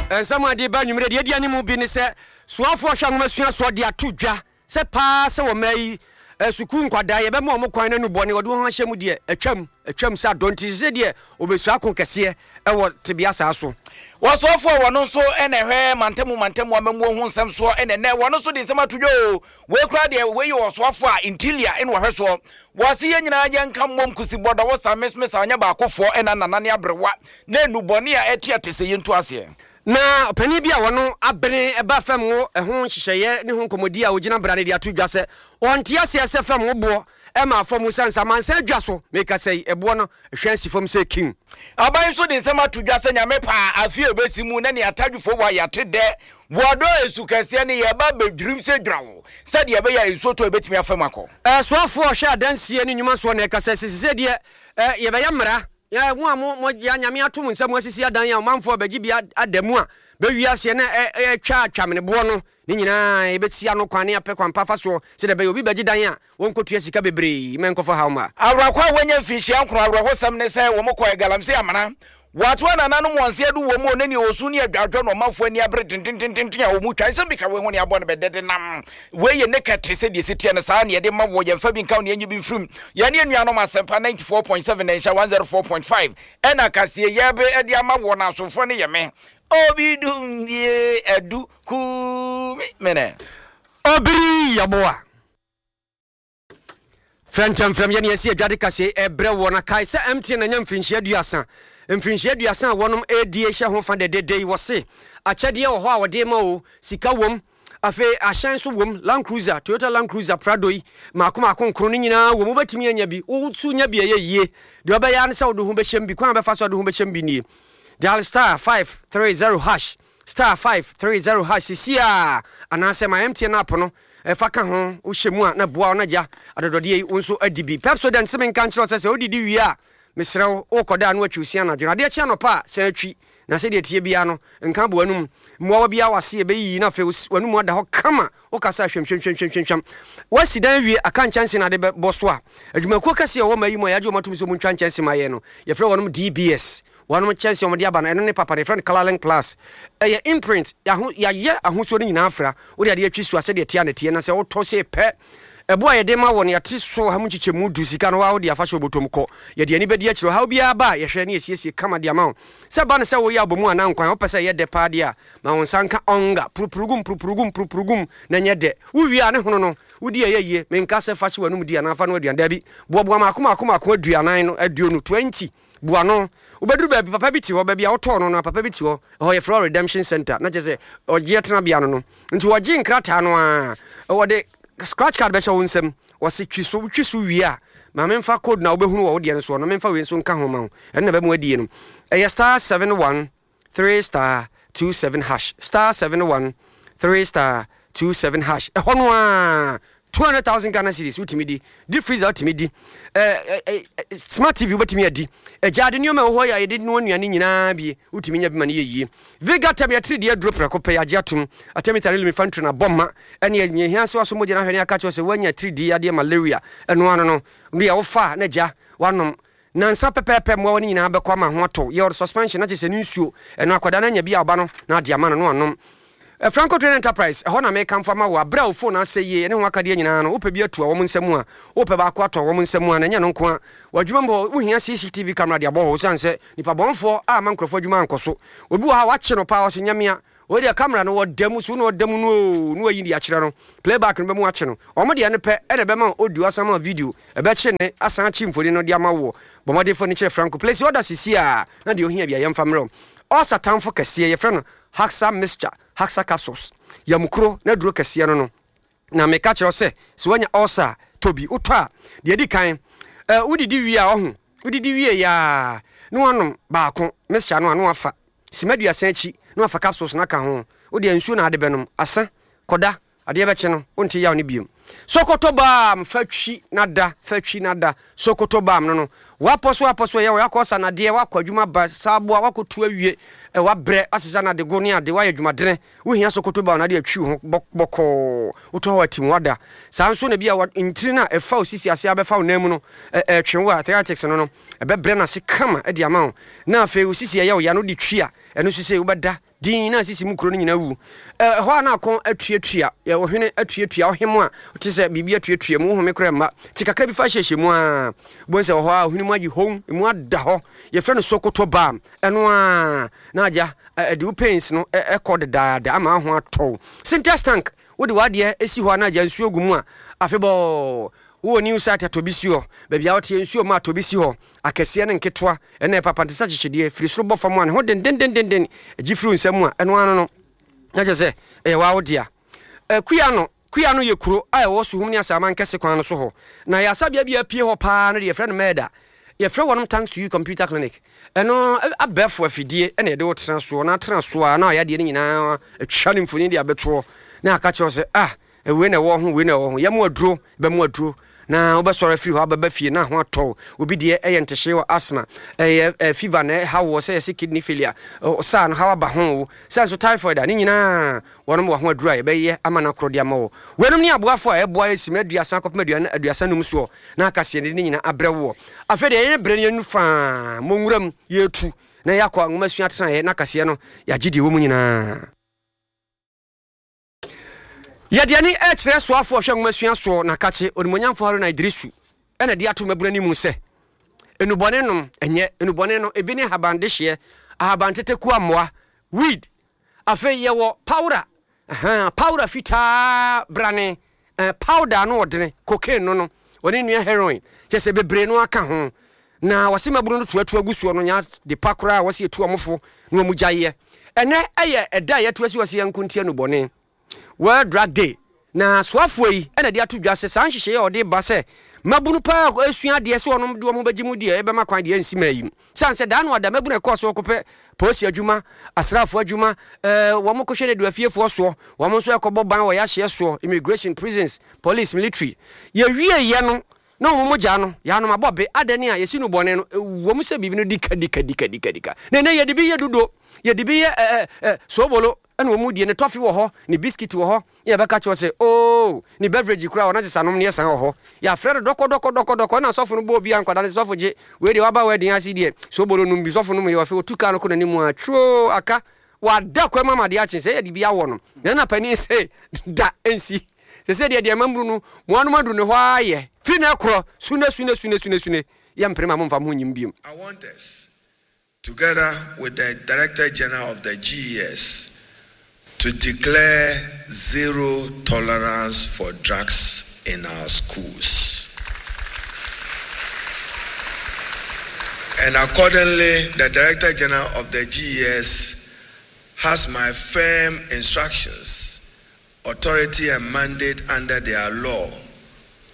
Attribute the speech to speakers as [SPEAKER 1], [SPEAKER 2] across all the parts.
[SPEAKER 1] Nsɛm a ɛde ba anwummere deɛ edi anim bi ne sɛ soafoɔ hwɛ nwomasua soɔ de ato dwa sɛ paa sɛ wɔ mmaa yi sukuu nkwadaa yɛbɛma wɔn kwan na nnubɔne wɔde wɔn ho ahyɛ mu deɛ atwam atwam sɛ adɔ nti sɛ deɛ wɔbɛsua ako kɛseɛ wɔ tebea saa so.
[SPEAKER 2] Wɔsoafoɔ a wɔno nso na ɛhwɛ mantamu mantamu amammuo ho nsɛm soɔ na ɛnɛ wɔno nso de nsɛm ato dwa o. Wei koraa deɛ wei yɛ ɔsoafoɔ a interior na ɔhwɛ soɔ. Wɔse yɛn nyinaa yɛnka mmom kusi bɔdɔ wo sa mes mes a ɔnyɛ baakofoɔ ɛna nana ne aberewa na nnubɔne a ɛte ɛte sɛ yɛntu aseɛ.
[SPEAKER 1] Na ɔpanin bi a wɔno abene ba fam wo ho nhyehyɛeɛ ne ho nkɔmmɔdi a ɔgyina bra no de ato dwa sɛ ɔnte aseɛ sɛ fam wo boɔ ma fam esiane sɛ amansan adwa so mekasa yi ɛboɔ no hwɛ asi fam sɛ kim.
[SPEAKER 2] Aban nso de nsɛm ato dwa sɛ Nyame pɛ a afe a ɛbɛsi mu na nea Atadwofoɔ wɔ a yɛate dɛ wɔ dɔ nsu kɛseɛ no yɛreba abɛdwirim sɛ dwerawo sɛdeɛ ɛbɛyɛ a nsuo tɔ a ɛbɛtumi afa mu akɔ.
[SPEAKER 1] Soafoɔ a ɔhwɛ adansie ne nnwuma soɔ na ɛkasa sɛ sesei deɛ yɛbɛyɛ mmara Yɛ mo a mo mo ya Nyame ato mo nsa mu asisi adan a ɔmanfoɔ bɛgye bi ada mu a bɛwie aseɛ na ɛtwa atwameneboɔ no ne nyinaa yɛbɛsi ano kwan ne apɛ kwan pa fa soɔ sɛdeɛ ɛbɛyɛ obi bɛgye dan a wɔnkɔtua sika bebree ma ɛnkɔfa haw mma.
[SPEAKER 2] Awerɛkɔ a wɔanya mfinhyia nkron awerɛhosɛm ne sɛ wɔn kɔɛ galamsey amena. Wɔato anananom wɔn nsa adu wɔn mu ne nea osu ne adwadwo na ɔmanfoɔ ani abere dendendenden a wɔn twa nsɛm bi ka wei ho ne abɔ no bɛdɛ denam wei yɛ naked te sɛ deɛ ɛsi teɛ no saa ne yɛde ma wɔ yɛmfa bi nka wo ne yɛnyi bi mfirim yɛne anuanom asɛmpa 94.7 na nhyɛ 104.5 ɛna kaseɛ yɛbe ɛde ama wɔ na asomfoɔ ne yɛ me obi dum bie adu kumi mene
[SPEAKER 1] Obiri Yeboah. Frɛnkyɛmfrɛm yɛ nea ɛsi adwade kaseɛ ɛbrɛ woɔ na kae sɛ MTN anya mfirinhyia aduasa. Mfirinhyia aduasa a wɔnom ɛredie hyɛ ho fa dɛdɛdɛ yi wɔse akyɛdeɛ wɔ hɔ a wɔde rema o, sika wom, afei ahyɛn nso wom, Land Cruiser, Toyota Land Cruiser, Prado yi maako maako nkron ne nyinaa wom, wobɛtumi anya bi, wo nso nya bi a ɛyɛ yie. Deɛ wobɛyɛ ara ne sɛ wode wo ho bɛhyɛm bi, kwan a wobɛfa so a wode wo ho bɛhyɛm bi nie, dial star 530 hash. Star 530 hash sesie ara anaasɛ my MTN app no fa ka ho, wohyɛ mu a na boa wo na gya adɔdɔdeɛ yi wo nso adi bi. Pepsodent se menka nkyerɛ wo sɛ sɛ wodidi wie a mesrɛ wo worekɔda a na watwi wo se anadwo no adeɛ kye anɔpa a san twi na sɛdeɛ ɛteɛ biara no nka abɔ w'anum mmoawa biara wɔ ase ɛbɛyiyi na afei w'anum ada hɔ kama wokasa a hwamhwamhwamhwamhwam woasi dan awie aka nkyɛnse na ade bɛbɔ so a adwumakuo kɛseɛ ɛwɔ ma yi mu a yɛagye wɔn atom sɛ wɔntwa nkyɛnse ma yɛn no yɛfrɛ wɔnom DBS Wɔnom kyɛnsee a wɔde aba no, ɛno ne papa no, yɛfrɛ no Colourlink Plus. Ɛyɛ imprint, yɛaho, yɛayɛ ahosuo no nyinaa afra. Wode adeɛ atwi so a, sɛdeɛ ɛteɛ a na ɛteɛ, na sɛ wotɔ sei pɛ, ɛboɔ a yɛde ma wɔ no, yɛate so ɔha mu nkyekyɛmu du, sika no, wo ara wode afa hyɛ wo bɔtɔ mu kɔ. Yɛde ani bɛdi akyire, ɔhaw biara ba a, yɛhwɛ na yɛsiesie kama de ama wo. Sɛ ɛba no sɛ woyɛ abomu anaa nkwan a, wopɛ sɛ ɛyɛ dɛ paa deɛ a, ma wo nsa nka ɔnga, purupurugum, purupurugum, purupurugum, na ɛnyɛ dɛ. Wowie a, ne hono no, wodi a ɛyɛ yie. Menka sɛ fa hyɛ w'anom di anaa fa noa aduane, daabi, boaboa mmaako mmaako mmaako aduanan no, aduonu, 20. Bu ano. Wobɛduru baabi, papa bi te hɔ, baabi a wotɔɔ no no, papa bi te hɔ. Ɛhɔ yɛfrɛ hɔ Redemption Center, na kyerɛ sɛ ɔgyeɛ tenabea no no. Nti wɔgye nkrataa no ara, wɔde scratch card bɛhyɛ wo nsam. Wɔse twi so, wotwi so wie a, ma memfa code no a wobɛhunu wɔ wo deɛ no soɔ no, memfa wei nso nka ho ma wo. Ɛno na ɛbɛma woadie no. Ɛyɛ star 71 3 star 27 hash star 71 3 star 27 hash ɛhɔ no ara 200,000 Ghana cedis wotumi di deep freezer wotumi di eh, eh, eh, smart TV wobɛtumi adi agyaade nneɛma ɛwɔ hɔ yɛ a yɛde noa nnuane nyinaa bi wotumi nya bi ma no yɛ yie Vega tɛm yɛtiri deɛ aduro prɛko pɛ yɛagye atom atamita ne lumifantrin abɔ ma ɛne ɛnyɛ hia sɛ waso mogya no ahwɛ ne aka kyerɛ sɛ woanya tiridii yadeɛ malaria ɛno ano no deɛ wofa na gya wanom Nnansa pɛpɛɛpɛ mmoawa no nyinaa bɛkɔ ama ho atɔ. Yɛ ɔde suspension na kyerɛ sɛ ne nsuo. Ɛno akwadaa no anya bi a ɔba no na ade ama no na wanom. Franco Trading Enterprise, ɛhɔ na mekamfo ama wo. Aberɛ a wo phone asɛe yie ne ho akadeɛ nyinaa no, wopɛ bi atu a wɔn nsa mu a, wopɛ baako atɔ wɔn nsa mu a, na ɛnyɛ ɛno nko ara. W'adwuma mu hɔ, wohia CCTV camera de abɔ hɔ osiane sɛ nnipa bɔnfoɔ a ama nkurɔfoɔ adwuma ankɔ so. Obi wɔ ha a wakye no paa, ɔse nyamea. Wei deɛ camera no ɔda mu so na ɔda mu no oo na wayi de akyerɛ no playback no bɛmu akye no wɔn deɛ no pɛ ɛna ɛbɛma wo audio asan ma wo video ɛbɛkye ne asan akye mfoni no de ama woɔ bɔ mmɔden fa ni kyerɛ Franco place order sisi a na deɛ ohia bia yɛmfa mmerɛ wo ɔsa tamfo kɛseɛ yɛfrɛ no Haxa mixture Haxa capsules yamukuro na duro kɛseɛ no no Na meka kyerɛ wo sɛ, sɛ woanya ulcer a, tɔ bi. Wotɔ a, deɛ ɛdi kan, eh, wodidi wie a, ɔho, wodidi wie yɛ a, na woanom baako, mixture no a, na wafa. Sima aduasa akyi, na wafa capsules no aka ho. Wo deɛ nsuo na ade bɛnom. Asa, kɔda, adeɛ bɛkye no, wonte yaw no biom. Sokoto balm, fa twi na da, fa twi na da. Sokoto balm no no, Woapɔ so apɔ so ɛyɛ wo, woakɔ sanadeɛ, woakɔ adwuma ba saa aboa, woakɔtu awie, woabrɛ, asesa no adego ne ade, woayɛ adwumadene, wohia Sokoto ba na ade atwi wo ho bɔkɔɔ, wotɔ hɔ atim woada. Saa nso na bi a ntini no a ɛfa wo sisi ase abɛfa wo nan mu no, ɛtwe wo a, arthritis no no, ɛbɛbrɛ no ase kama de ama wo. Na afei wo sisi ɛyɛ wo ya no wode twi a, ɛno nso sei wobɛda dinn na sisi mu kuro no nyinaa wu. Ɛhɔ a na akɔn atuatua, ɔhwene atuatua, ɔhem a te sɛ biribi atuatua mu, wohome koraa mma. Te kakra bi fa hyehyɛ mu a, wobɛhu sɛ wɔ hɔ a ɔhwene mu agye hon, emu ada hɔ. Yɛfrɛ no Sokoto balm. Ɛno a na agya ɛde wo pains no ɛkɔ dedaada ama ho atɔ wo. Sintex tank, wode w'adeɛ si hɔ a na agya nsuo gu mu a, afebɔɔ Wowɔ new site a tɔ bi si hɔ. Baabi a woteɛ nsuo mma a tɔ bi si hɔ. Akɛseɛ ne nketewa ɛna ɛpapa nte sɛ akyekyedeɛ. Firi soro bɔ fam a ne ho dendendendenden gye firi wo nsa mu a ɛno ara no no na kyerɛ sɛ ɛyɛ waa wo dea. Kuano, Kuano yɛ kuro a ɛwɔ Suhum ne Asaaman kɛse kwan no so hɔ. Na ayaresabea bi a apue hɔ paa no deɛ yɛfrɛ no Mɛɛda. Yɛfrɛ wɔnom Thanks to You Computer Clinic. Ɛno abɛɛfo afidie na yɛde wo tena soɔ na atena soɔ a na ayadeɛ no nyinaa atwa ne mfoni de abɛtoɔ na aka kyerɛ wo sɛ ah Wei na ɛwɔ ho, wei na ɛwɔ ho. Yɛ mo aduro, bɛ mo aduro. Na wobɛsɔre afiri hɔ abɛba fie na ho atɔ wo. Obi deɛ ɛyɛ ntehyee wɔ asthma, ɛyɛ fever na ɛha woɔ, sɛ yɛse kidney failure, saa no haw aba ho o, sɛ nso typhoid a, ne nyinaa wɔnom wɔ ho aduro a yɛbɛyɛ ama no akorɔ de ama wo. Weinom ne aboafoɔ a ɛboa yɛ sima aduasa kɔpem 35 soɔ na aka seɛ de ne nyinaa abrɛ woɔ. Afei deɛ yɛn berɛ no yɛnu faa mɔ nwura mu yɛretu na yɛakɔ nwomasua atenaeɛ na kaseɛ no yɛagye deɛ ɛwɔ mu nyinaa. Yɛde ani rekyerɛ soafoɔ a ɔhwɛ nwomasua soɔ na kakye Onimuonyamfoɔ Haruna Iddrisu na de ato mmabunu anim sɛ nnubɔne nom nyɛ nnubɔne no ebi ne ahaban dehyeɛ, ahaban tetekuo mmoa, weed. Afei yɛwɔ pawra, ahaa, pawra fitaa brane, eh, powder ano ɔdene, cocaine no no, ɔne nua heroin, kyɛ sɛ bebree no aka ho. Na wɔse mmabunu no toatoa gu soɔ no nyɛ ade pa koraa a wɔse yɛtu wɔn fo na wɔn gyaeɛ. Ɛnɛ ɛyɛ ɛda a yɛatu asi hɔ sɛ yɛnko ntia nnubɔne, World Drug Day, na soafoɔ yi na de ato dwa sɛ saa nhyehyɛeɛ a wɔde ba sɛ mmabunu paa resua adeɛ sɛ wɔn de wɔn ho bɛgye mu deɛ ɛbɛma kwan deɛ ɛnsi mmaa yi mu. Sane sɛ daa no ada mmabunu a ɛkɔɔ so kɔpɛ polisi adwuma, asraafoɔ adwuma, wɔn kɔhwɛ nneduafiefoɔ soɔ, wɔn nso ɛkɔbɔ ban wɔ yɛahyeɛ soɔ, immigration, prisons, police, military. Yɛwieeɛ no Na wɔn mogya no, yɛanom abɔ be, adɛn a yɛsi no bɔne no, ɛwom sɛ biribi no di ka di ka di ka di ka di ka. Na ɛnnɛ yɛde bi yɛ dodo, yɛde bi yɛ ɛ ɛ soobolo, ɛna wɔn die, ne tɔfe wɔ hɔ, ne biskit wɔ hɔ, ne yɛbɛka kyerɛ sɛ, oo, ne beverage koraa wɔ na kyesɛ anom ne yɛ san wɔ hɔ. Yɛafrɛ no dɔkɔ dɔkɔ dɔkɔ dɔkɔ, ɛna sɔfo no bɔ obi a nkwadaa no sɛ sɔfo gye, wei deɛ waba wedding ase deɛ, soobolo nom bi, sɔfo nom yɛ, afei ɔtu kaa no kɔ n'anim a, twoo, aka, wada kwan mu ama adeɛ akye, sɛ yɛde bi awɔ no, na ɛna panin se, da, ɛnsi. Sese deɛ deɛ mamuru no mo anom aduru ne hɔ ara yɛ firi na ɛkorɔ sune sune sune sune sune yɛ mpere ma momfa mo ho nyim biom.
[SPEAKER 3] I want us, together with the Director General of the GES, to declare zero tolerance for drugs in our schools. And accordingly, the Director General of the GES has my firm instructions authority and mandate under their law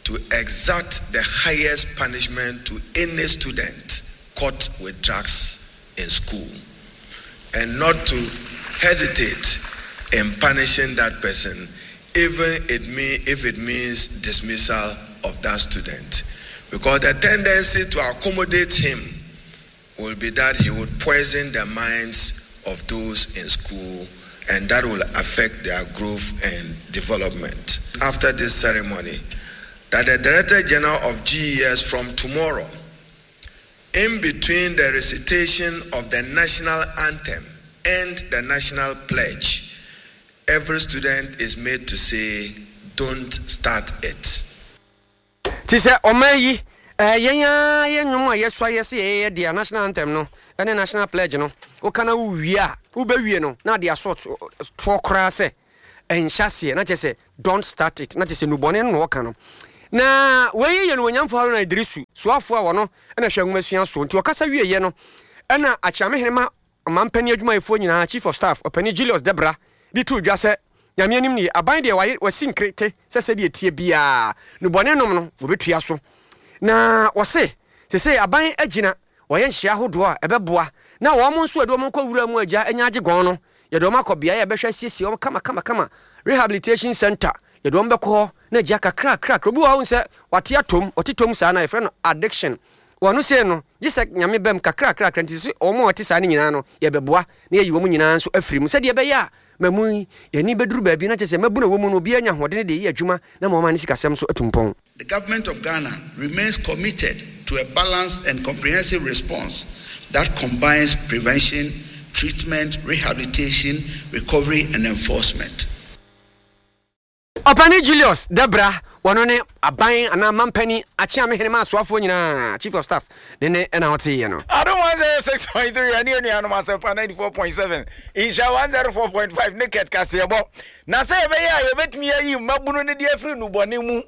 [SPEAKER 3] to exact the highest punishment to any student caught with drugs in school and not to hesitate in punishing that person, even it mean, if it means dismissal of that student. Because the tendency to accommodate him will be that he would poison the minds of those in school and that will affect their growth and development. After this ceremony, that the Director General of GES from tomorrow, in between the recitation of the national anthem and the national pledge, every student is made to say, Don't start it.
[SPEAKER 1] Te sɛ ɔman yi, ɛɛ yɛn ara yɛn nnwom a yɛsua yɛ sɛ yɛyɛ dea, national anthem no ne national pledge no, woka na wowie a, wobɛwie no na ade aso toɔ koraa sɛ ɛnhyɛ aseɛ, na kyerɛ sɛ don't start it, na kyerɛ sɛ nnubɔne no na wɔka no. Na wei yɛ Animuonyamfo Haruna Iddrisu, soafoɔ a ɔno na hwɛ nwomasua soɔ, nti ɔkasa wieeɛ no ɛna Akyeamehene ma Ɔmanpanin adwumayɛfoɔ nyinaa Chief of Staff, Ɔpanin Julius Debrah de too dwa sɛ, Nyame anim nie, aban deɛ waye wasi nkrete sɛ sɛdeɛ ɛteɛ biara nnubɔne nom no wɔbɛtua so. Na wɔse sesei aban agyina wɔyɛ nhyehyɛɛ ahodoɔ a ɛbɛboa na wɔn nso a yɛde wɔn kɔ wura mu agya anya agye gɔn no yɛde wɔn akɔ beaeɛ a yɛbɛhwɛ asiesie wɔn kama kama kama, rehabilitation centre, yɛde wɔn bɛkɔ hɔ na agya kakra kakra. Obi wɔ hɔ a wohu sɛ wate atom, ɔte tom saa no a yɛfrɛ no addiction. Wɔn sei no, gye sɛ Nyame bam kakrakrakra nti sɛ wɔn a wɔte saa no nyinaa no, yɛbɛboa na yɛayi wɔn nyinaa nso afiri mu sɛdeɛ ɛbɛyɛ a mmamu yi, yɛn ani bɛduru baabi na kyerɛ sɛ mmabunu a ɛwɔ mu no obiara anya ahoɔdene de ayi adwuma na ama wɔn ne sikasɛm nso atu mpɔn.
[SPEAKER 4] The government of Ghana remains committed to a balanced and comprehensive response that combines prevention, treatment, rehabilitation, recovery, and enforcement.
[SPEAKER 1] Ɔpanin Julius Debra, wɔno ne aban anaa mampanin akyeame ma asoafoɔ nyinaa, Chief of Staff, ne ne ɛna ɔteeɛ no.
[SPEAKER 2] Adom 106.3 ɛne anuanom Asɛmpa 94.7 Nhyira 104.5 ne Kɛt Kaseɛbɔ. Na sɛ ɛbɛyɛ a yɛbɛtumi ayi mmabunu no de afiri nnubɔne mu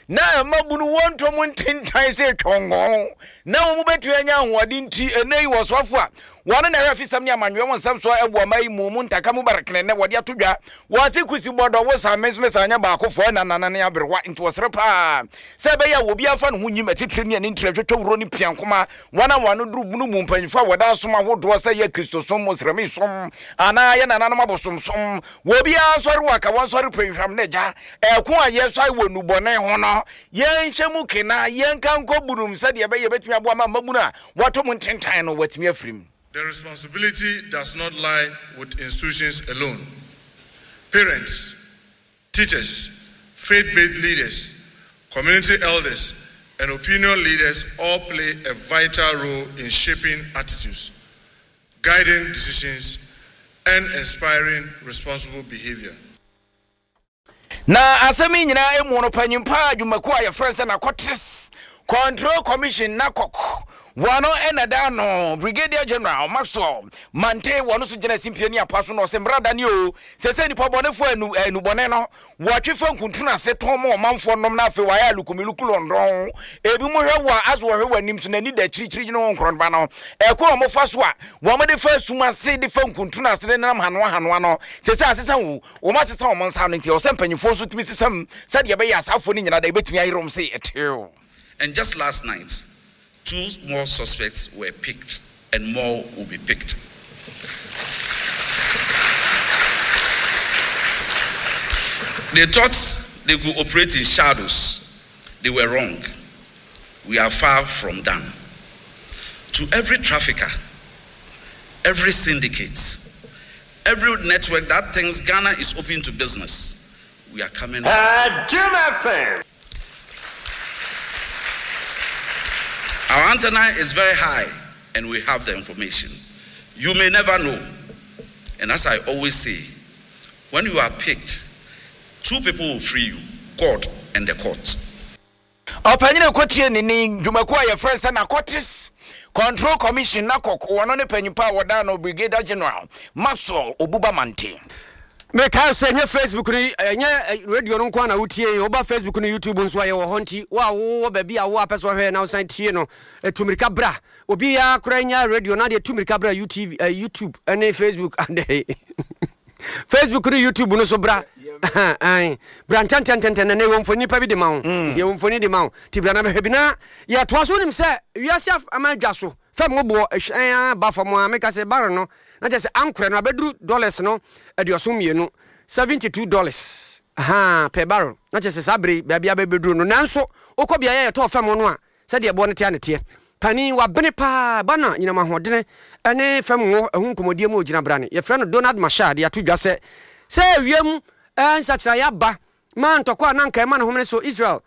[SPEAKER 2] na mmabunu wɔntɔ mu ntentan sɛ twɔngɔn na wɔn bɛtumi anya ahoɔden nti, ɛnnɛ yi wɔsoafo a Wɔn na ɛhwɛ afisɛm ne amanyɔɛ ho nsɛm soɔ ɛwɔ ɔman yi mu mu ntaka mu barakene nnɛ wɔde ato dwa wɔ ase kusi bɔdɔ wo saa me nso me saa nyɛ baako foɔ ɛna nana ne aberewa nti wɔsrɛ paa sɛ ɛbɛyɛ a obi afa ne ho nyim atitire ne ani ntire twetwe wuro ne piankoma wɔn a wɔn ano duru bunu mu mpanyinfoɔ a wɔda asom ahodoɔ sɛ yɛ kristosom mosrɛmi som anaa yɛ nananom abosomsom wɔ obiara nsɔre wɔ aka wɔn nsɔre pɛnhwam ne gya ɛko a yɛsɔre wɔ nnubɔne ho no yɛnhyɛ mu kena yɛnka nkɔ bunum sɛdeɛ ɛbɛyɛ bɛtumi aboa ma mmabunu a Wɔato mu ntentan no, wɔatumi afiri mu.
[SPEAKER 3] The responsibility does not lie with institutions alone. Parents, teachers, faith-based leaders, community elders, and opinion leaders all play a vital role in shaping attitudes, guiding decisions, and inspiring responsible behavior.
[SPEAKER 2] Na asɛm yi nyinaa mu no, panyin pa adwumakuo a yɛfrɛ sɛ Narcotics Control Commission, NACOC, wɔn na da ano. Brigadier General Maxwell Mante wɔn nso gyina simpie ne apa so na ɔsɛ mmara da ne o sɛ sɛ nipa bɔnefoɔ anu anubɔne no wɔtwe fa nkuntunu ase tɔn ma ɔmanfoɔ nom na afei wɔayɛ alukumiluku lɔndɔn ebi mo hwɛ wɔ aso wɔhwɛ wɔ anim so n'ani da akyirikyiri gyina wɔn nkorɔnba no ɛkɔ wɔn fa so a wɔn de fa sum ase de fa nkuntunu ase de nenam hanoa hanoa no sɛ sɛ asesa wo Wɔasesa wɔn nsa ano nti, ɛwɔ sɛ mpanyimfoɔ nso tumi sesa mu sɛdeɛ ɛbɛyɛ a saa afoɔ no nyinaa da yɛbɛtumi ayere wɔn sɛ ɛtew.
[SPEAKER 4] And just last night, two more suspects were picked and more will be picked. They thought they could operate in shadows. They were wrong. We are far from done. To every trafficker, every syndicate, every network that thinks Ghana is open to business, we are coming.
[SPEAKER 5] Jim FM.
[SPEAKER 4] Our antenna is very high and we have the information. You may never know. And as I always say, when you are picked, two people will free you God and the court.
[SPEAKER 2] Ɔpanyin a ɛkɔtie ne ne dwumakuo a yɛfrɛ sɛ Narcotics Control Commission, NACOC, wɔno ne panyin pa a wɔdaa no Brigadier General Maxwell Obuba Mante.
[SPEAKER 1] Mekae sɛ ɛnyɛ Facebook no ɛnyɛ radio no nko ara na wotie yɛn, woba Facebook ne YouTube nso a yɛwɔ hɔ nti wo a wowɔ baabi a wo a pɛ sɛ ɔhwɛ na wosan tie no tu mmirika bra. Obiara koraa nya radio na deɛ tu mmirika bra UTV, YouTube ne Facebook adɛ. Facebook ne YouTube no so bra. Bra ntɛntɛntɛntɛn na yɛwɔ mfoni pa bi de ma wo. Yɛwɔ mfoni de ma wo. Ti bra na bɛhwɛ bi na yɛtoa so wonim sɛ wiase ama adwa so fam boɔ ɛhwɛn ba fam a meka sɛ barrel no na kyerɛ sɛ ankorɛ no abɛduru dollars no 72, $72 ahaa per barrel na kyerɛ sɛ saa bere yi baabi abɛbɛduru no nanso wokɔ beaeɛ a yɛtɔɔ fam no a sɛdeɛ ɛboɔ no teɛ a na ɛteɛ. Panin, wabene paa, ba na nyinam ahoɔdene ne fam ngo ho nkɔmmɔdie mu ɔgyina brane. Yɛfrɛ no Donald Machar de ato dwa sɛ, sɛ wiem nsakyeraeɛ aba ma ntɔkwa a na anka ɛma ne homene so Israel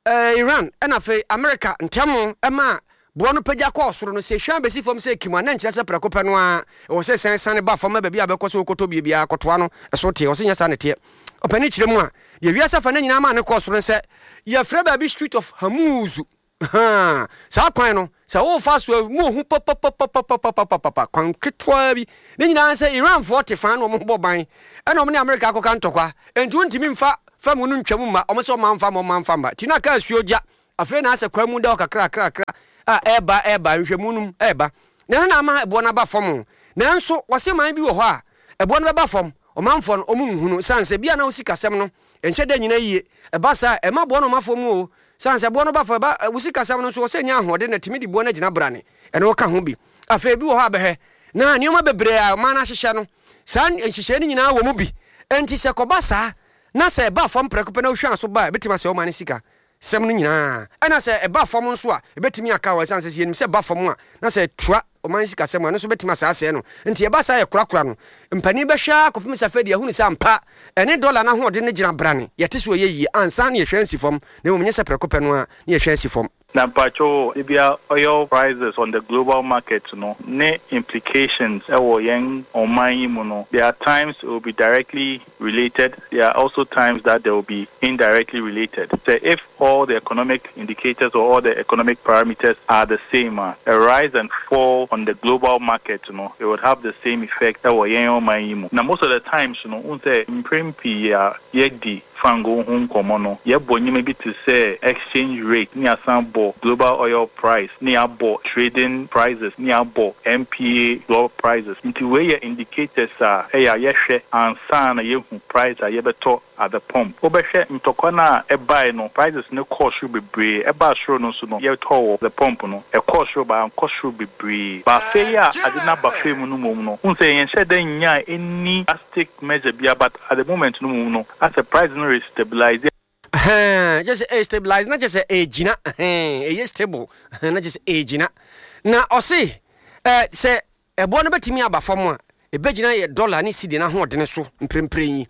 [SPEAKER 1] Iran na afei Amerika ntam ma boɔ no pagya kɔɔ soro no, sɛ ehwan besi fam sɛ ekim a, na ɛnkyerɛ sɛ prɛko pɛ no ara ɛwɔ sɛ ɛsan siane ba fam ma baabi a bɛkɔ sɛ wɔkɔtɔ bie biara kɔtoa no so teɛ. Ɔse nyɛ saa na ɛteɛ. Ɔpanin kyerɛ mu a, deɛ wiase afa no nyinaa maa no kɔɔ soro ne sɛ yɛfrɛ baabi Strait of Hormuz. Ahaa, saa kwan no, sɛ worefa so a, mu ohu papapapapapapapa, kwan ketewa bi. Ne nyinaa ne sɛ Iranfoɔ te faa na wɔn bɔ ban, ɛna wɔn ne Amerika akɔka ntɔkwa. Enti wontumi mfa fam no ntwam mma, wɔn sɛ wɔn amfa mma, wɔn amfa mma. Nti na kaa asuo gya, afei na asɛ kwan mu da hɔ kakrakrakra a ɛreba, ɛreba, nhwɛmu no mu ɛreba. Na ɛno na ama ɛboɔ no aba fam. Nanso wɔse man bi wɔ hɔ a, ɛboɔ no bɛba fam, ɔmanfoɔ no, wɔn nhunu, sane sɛ bia na wo sikasɛm no ɛnhyɛ da nyina yie. Ɛba saa a, ɛma boɔ no ma fam o. Sane sɛ boɔ no ba fam, ɛba wo sikasɛm no nso, wɔ sɛ ɛnya ahoɔden na ɛtumi de boɔ no agyina brane. Ɛno ka ho bi. Afei ebi wɔ hɔ a bɛhwɛ na nneɛma bebree a ɔman no ahyehyɛ no, saa nhyehyɛe no nyinaa wɔ mu bi. Enti sɛ ɛkɔba saa na sɛ ɛba fam prɛko pɛ na wohwan so ba a, ebetumi asɛe ɔman no sika. sɛm no nyinaa. Ɛna sɛ ɛba fam nso a, ɛbɛtumi aka hɔ ɛsiane sɛ sɛ yɛnim sɛ ɛba fam a, na sɛ ɛtra ɔman sikasɛm a, ɛno nso bɛtumi asaa asɛe no. Nti ɛba saa a yɛkorakora no. Mpanin bɛhwɛ ara kɔpem sɛ afei deɛ yɛahunu sɛ ampa ɛne dɔla no ahoɔden no gyina brane, yɛte so ɛyɛ yie ansa na yɛhwɛ asi fam, na mmom nyɛ sɛ prɛko pɛ no ara na yɛhwɛ asi fam.
[SPEAKER 6] Na mpakyɛw o, ebia oil prices on the global market no ne implications wɔ yɛn ɔman yi mu no, there are times it will be directly related, there are also times that they will be indirectly related. Sɛ if all the economic indicators or all the economic parameters are the same a, a rise and fall on the global market no, it would have the same effect wɔ yɛn ɔman yi mu. Na most of the times no, wohu sɛ mprɛn pii a yɛadi fango ho nkɔmmɔ no, yɛbɔ nneɛma bi te sɛ exchange rate, ne yɛasan bɔ global oil price, ne yɛabɔ trading prices, ne yɛabɔ MPA global prices. Nti wei yɛ indicators a ɛyɛ a yɛhwɛ ansa na yɛahu price a yɛbɛtɔ at the pump. Wobɛhwɛ ntɔkwa no a ɛbae no, prices no kɔɔ soro bebree. Ɛbaa soro no nso no, yɛtɔɔ wɔ the pump no, ɛkɔɔ soro but ankɔ soro bebree. But afei a ade no aba fam no mmom no, wohu sɛ yɛnhyɛɛ da nnyaa any drastic measure biara but at the moment no mmom no, asɛ price no restabilise.
[SPEAKER 1] Ɛhɛn, kyerɛ sɛ ɛrestabilise na kyerɛ sɛ ɛregyina, ɛhɛn, ɛyɛ stable, ɛhɛn, na kyerɛ sɛ ɛregyina. Na ɔse, ɛ, sɛ ɛboɔ no bɛtumi aba fam a, ɛbɛgyina yɛ dɔla ne sidi no ahoɔdene so mprempren yi.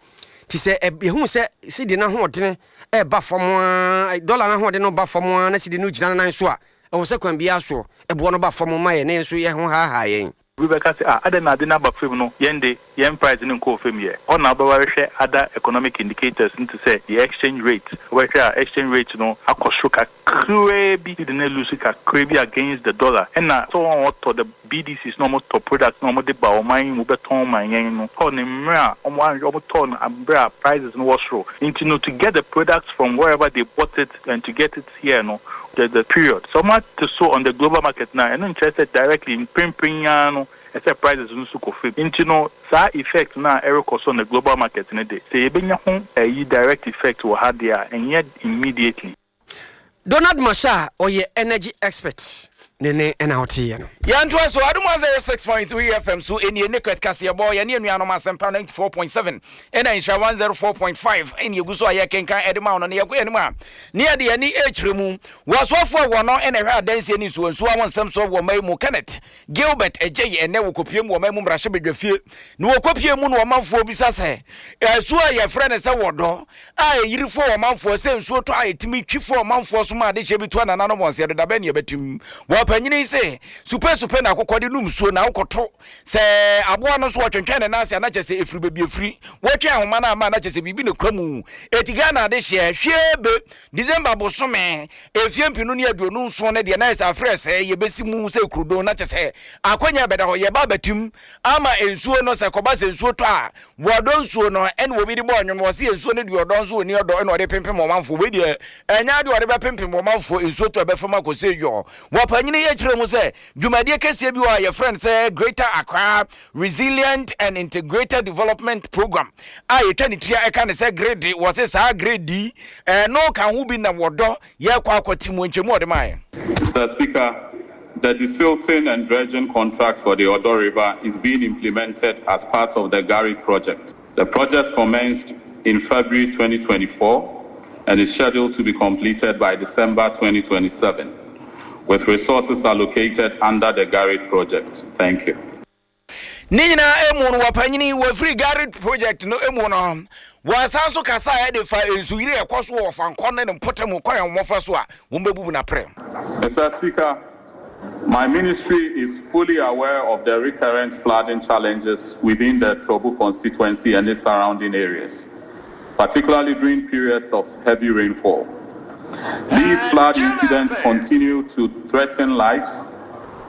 [SPEAKER 1] Nti sɛ ɛ, yɛhunu sɛ sidi no ahoɔdene ɛreba fam ara, dɔla no ahoɔdene no ba fam ara na sidi no gyina ne nan so a, ɛwɔ sɛ kwan biara soɔ, ɛboɔ no ba fam ma yɛn na yɛn nso yɛn ho haahaa yɛn.
[SPEAKER 6] Obi bɛka sɛ, Ah, adɛn na ade no aba fam no, yɛn de, yɛn price no nkɔɔ fam yɛ. Hɔ na wobɛba bɛhwɛ other economic indicators no te sɛ the exchange rate. Wobɛhwɛ a, exchange rate no akɔ soro kakraa bi, cedi no alose kakraa bi against the dollar. Ɛna sɛ wɔn a wɔtɔ the BDCs na wɔtɔ products na wɔde ba ɔman yi mu bɛtɔn ma yɛn no, tɔ no mmerɛ a wɔn wɔtɔɔ no berɛ a prices no wɔ soro. Nti no, to get the products from wherever they bought it and to get it here no, there's a period. Sɛ wɔate so on the global market no a, ɛno nkyerɛ sɛ directly mprempren yi ara no ɛsɛ prices no nso kɔ fam. Nti no saa effect no a ɛrekɔ so on the global market no de, sɛ yɛbɛnya ho ɛyi direct effect wɔ ha deɛ a, ɛnyɛ immediately.
[SPEAKER 1] Donald Mashar a ɔyɛ energy expert ne ne na woteeɛ no.
[SPEAKER 2] Yɛntoa so, Adom 106.3 FM so nie, Nicklet kaseɛbɔ, yɛne anuanom Asɛmpa 94.7 ɛna Nhyira 104.5 ɛne ɛgu so a yɛkenkan ɛde ma wo no, na yɛkɔ yɛn anim a ne yɛde yɛn ani rekyerɛ mu. Wɔ asoafoɔ a wɔn na ɛhwɛ adansie ne nsuwansuwa ho nsɛm soɔ wɔ ɔman mu, Kenneth Gilbert Adjei ɛnnɛ wɔkɔpue mu wɔ ɔman mu mmarahyɛbadwafie na wɔkɔpue mu na ɔmanfoɔ bisa sɛ asuo a yɛfrɛ no sɛ wɔdɔ a ɛyiri fɔ ɔmanfoɔ sɛ nsuo tɔ a ɛtumi twi fɔ ɔmanfoɔ so ma adehyeɛ bi to anananom wɔn sɛ ɛdeda bɛn ne ɛbɛtim. Wɔpanyini se supesupe na akokɔ de nom nsuo na wokɔto Sɛ aboa no nso wɔtwentwɛn ne nan ase a na kyerɛ sɛ ɛfiri baabi ɛfiri. Wɔtwe ahoma no ama a na kyerɛ sɛ biribi na ɛkura mu. Eti Ghana adehyeɛ, hwie be, December bosome, mfeɛ mpenu ne 27 no deɛ na ayɛ sɛ afrɛ sɛ yɛbɛsi mu sɛ kurudon na kyerɛ sɛ akwanya bɛda hɔ. Yɛba abɛtim ama nsuo no sɛ kɔba sɛ nsuo tɔ a wɔdɔ nsuo no ɛna obi de bɔɔ nnwom wɔse nsuo no deɛ ɔdɔ nso ɔni ɔdɔ ɛna ɔde pempem ɔmanfoɔ. Wei deɛ ɛnyɛ adeɛ ɔde bɛpempem ɔmanfoɔ nsuo tɔ ɛbɛfam akɔ sɛ yɔɔ. Wɔpanyini yɛ kyerɛ mu sɛ Dwumadie kɛseɛ bi wɔ hɔ a yɛfrɛ no sɛ Greater Accra Resilient and Integrated Development Program a yɛtwa ne tiri a ɛka ne sɛ GRID. Wɔse saa GRID yi ɛno ka ho bi na wɔdɔ yɛkɔ akɔte mu nkyɛmu a ɔde maeɛ.
[SPEAKER 7] Mister Speaker, the desilting and dredging contract for the Odaw River is being implemented as part of the GARID project. The project commenced in February 2024 and is scheduled to be completed by December 2027, with resources allocated under the GARID project. Thank you.
[SPEAKER 2] Ne nyinaa emu no, wɔpanyini wɔfiri GARID project no mu no, wɔsan so kasaeɛ de fa nsuyiri a ɛkɔ so wɔ Ɔfankɔ ne ne mpɔtam kwan a wɔfa so a wɔbɛbubu no aprɛ.
[SPEAKER 7] Mister Speaker, My ministry is fully aware of the recurrent flooding challenges within the Trobu constituency and its surrounding areas, particularly during periods of heavy rainfall. These flood incidents continue to threaten lives,